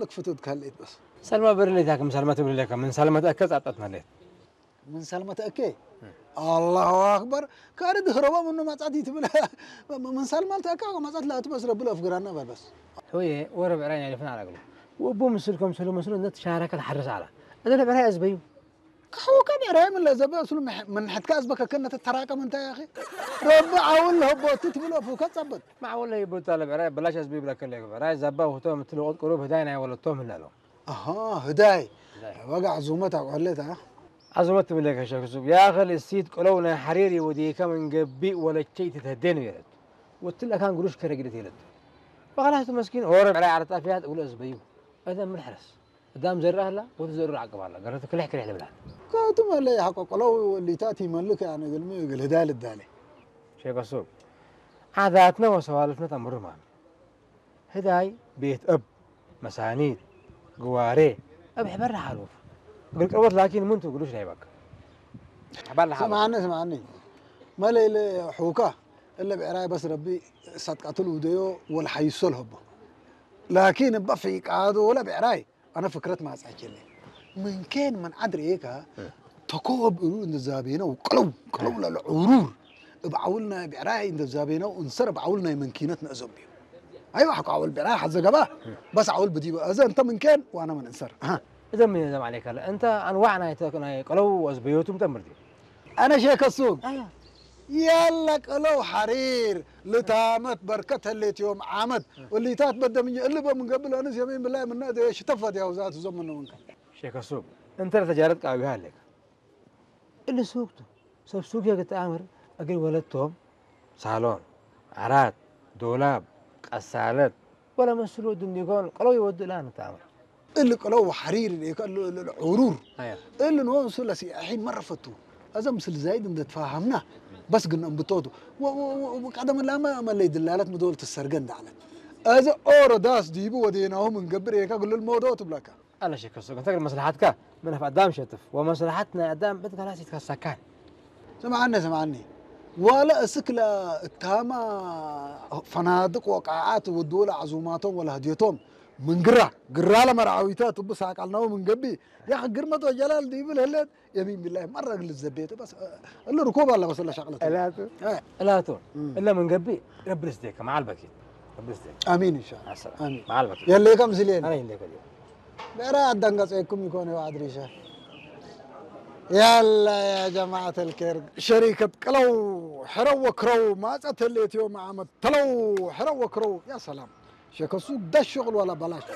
ክፍትት ካልእት በስ። ሰልማ በርሌታ ከም ሰልማ ትብል ለካ ምን ሰልማ ተከ ጻጣት ማለት። ምን ሰልማ ተከ? አላሁ አክበር። ካሪ ድህረባ ምኑ ማጻት ይትብል። ምን ሰልማ ተከ ማጻት ላቱ በስ ረብል አፍግራና በል በስ። ሆየ ወረ ብዕራይ ናይ ልፍና አላግሉ። ወቦ ምስል ከም ሰሎ መስሎ ነት ሻረከ ተሐርስ አላ። እዛ ለብዕራይ አዝበዩ። ከሕውከ ብዕራይ ምን ለዘበ እሱሉ ምን ሕትካ አዝበከከ ነተ ተራቀም እንታ ያኺ። ረቢ አውል ለህቦቱ ትብል አፉከ ጸበል። ማዕወል ለህቦታ ለብዕራይ በላሽ አዝበዩ ብለከ ለብዕራይ ዘባ ውህቶ ምትል ወቅት ቅሩብ ህዳይ ናይ ወለቶም ህላሎ። አሃ ህዳይ። ህዳይ። ወጋ ዕዙመት አቋለታ። عظمة تملك شخص يا أخي السيد قلونا حريري وديك من قبي ولا شيء تتهدين ويرد. وتلا كان قروش كرقدة يرد. وخلاص مسكين هو ربع على طافيات ولا زبيو. هذا من حرس. دام زرع لا وتزرع عقب الله قررت كل حكي على بلاد. كاتم اللي حق قلو اللي تاتي ملك يعني قال مي قال هدال الدالي. شيخ السوق. عاداتنا وسوالفنا تمر معنا. ህዳይ ቤት እብ መሳኒት ግዋሬ እብ ሕበር ሓሉፍ እግል ቅርበት ላኪን ምንቱ ግሉሽ ናይ በቃ ሕበር ሓሉፍ ስምዓኒ ስምዓኒ መለ ኢለ ሑካ እለ ብዕራይ በስ ረቢ ሳትቃትል ውደዮ ወልሓይሶ ልሀቦ ላኪን እባ ፊቃዶ ወለ ብዕራይ ኣነ ፍክረት ማጻቸለ ምንኬን ምን ዓድ ርኤካ ተኮብ እሩ እንዛቤነው ቅለው ቅለው ለለ ዑሩር እብ ዓውል ናይ ብዕራይ እንዛቤነው እንሰር እብ ዓውል ናይ መንኪነት ነእዘም እዩ። አይዋ ሐቆ አወል ብዕራይ ሐዘ ገባ በስ አወል ብዲበ እዘ እንተ ምንኬን ዋና ምን እንሰር። እዘ ምን እዘም ዓለይካ እንተ አንዋዕ ናይ ተ ናይ ቀለው ወዝበዮቱም ተምርዲ። አነ ሼከ ሱቅ ያለ ቀለው ሐሪር ልታመት በርከት ህሌት ዮም ዓመት እሊታት በደምኝ እልበ ምን ገብእ ለአንስ የሚን ብላይ ምነ እደ ሽተፈት ያው ዛት እዞም ምነ ምንከ። ሼከ ሱቅ እንተ ለተጃረት ቃዊሃ አለካ እሊ ሱቅ ቱ ሰብ ሱቅ የግጥ አምር እግል ወለቶም ሳሎን ዓራት ዶላብ ቀሳለት ወለ መስሉ ድንዲጎን ቀለው ይወድእ ለአንተ አምር እሊ ቅለው ሐሪር ሌከ እሊ እሊ ዕሩር አያ እሊ ንወንሱ ለሲያሒን መረፈቱ። አዘ ምስል ዛይድ እንደ ተፋሃምና በስ ግን እንብቶቱ ወ- ወ- ወ- ቀደም ላመ መለይ ድላለት ምዶል ትሰርገ እንዳዕለት። አዘ ኦሮ ዳስ ዲቡ ወዴናሁ ምንገብር ኤካ ግልል ሞዶ ትብለካ። አለ ሸከሶ እንተ መስለሓትካ ምን አፍ አዳም ሸትፍ ወመስለሓት ናይ አዳም ብትከላስ ይትከሰካን። ስምዓኒ ስምዓኒ ዋለ እስክ ለእታማ ፈናድቅ ወቃዓት ውድኡ ለዓዙማቶም ወለህድዮቶም ምን ግራ ግራ ለመርዓዊታ ትቡ ሳቃልናው ምን ገቢ ያኽ ግርመት ወጀላል ዲብል ህለት የሚን ቢላሂ መረግ ልዘቤቱ በስ እሉ ርኮብ አለ በስ ለሻቅለት እላቱ እላቱ እለ ምን ገቢ ረቢ ልስዴከ መዓል በኪት ረቢ ልስዴከ አሚን ኢንሻአላህ አሰላም አሚን መዓል በኪት የለ ከምስሌን አነ እንደከ ብዕራይ ኣዳንጋጸየኩም ይኮነ ዋዕድ ሪሸ ያላ ያ ጀማዓት ልኬር ሸሪከት ቅለው ሕረው ወክረው ማጸት ህሌትዮ መዓመት ተለው ሕረው ወክረው ያ ሰላም ሸከሱ ዳሽ ሸቅል ዋላ በላሽ